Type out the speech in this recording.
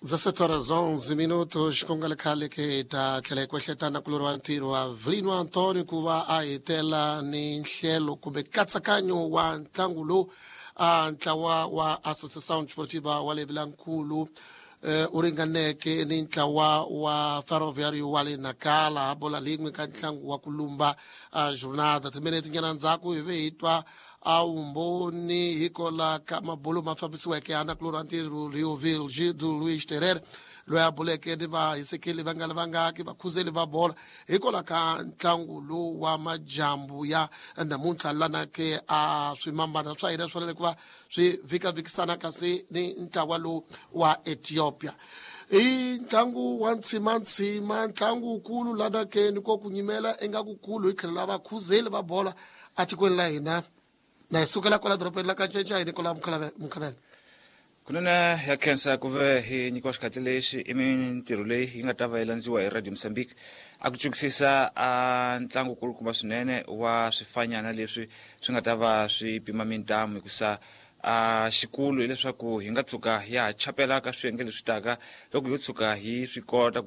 17 horas 11 minutos. Ku nga ri khale ke hi ta tlhela hi kwehleta na kulori wa ntirho wa Vilino Antonio ku va a hetela ni nhlelo kumbe nkatsakanyo wa ntlangu lowu a ntlawa wa Associação Desportiva wa le Vilankulu u ringaneke ni ntlawa wa Ferroviário wa le Nacala bola lin'we ka ntlangu wa ku lumba jornada. Timinete nyana ndzhaku hi ve hi twa a vumbhoni hikola ka mabulo ma fambisiweke ya nakulorhi wa ntirho Leoville Gildo Luiz Terere, loyi a buleke ni vahisekeli va nga ri vangaki vakhuzeli va bolo hikola ka ntlangu lowu wa majambu ya namuntlha. Lana ke a swimambana swa hina swi fanele ku va swi vhikavikisana kasi ni ntlawa lowu wa Ethiopia i ntlangu wa ntshimantshima, ntlangu wukulu lana ke ni ko ku nyimela ingaku kulu hi tlhelo la vakhuzeli va bola atikweni la hina. Na hi sukela kwala dorobeni la Kancencai Nikola Mukhavela. Kunene ya khensa ku ve hi nyikiwa xikhatli lexi. I mintirho leyi yi nga ta va yi landziwa hi Radio Mozambique a ku cukisisa a ntlangu kulukumba swinene wa swifanyana leswi swi nga ta va swi pima mintamu, hikusa a xikulu hileswaku hi nga tshuka ya ha chapela ka swiyenge leswi taka loko yo tshuka hi swi kota ku.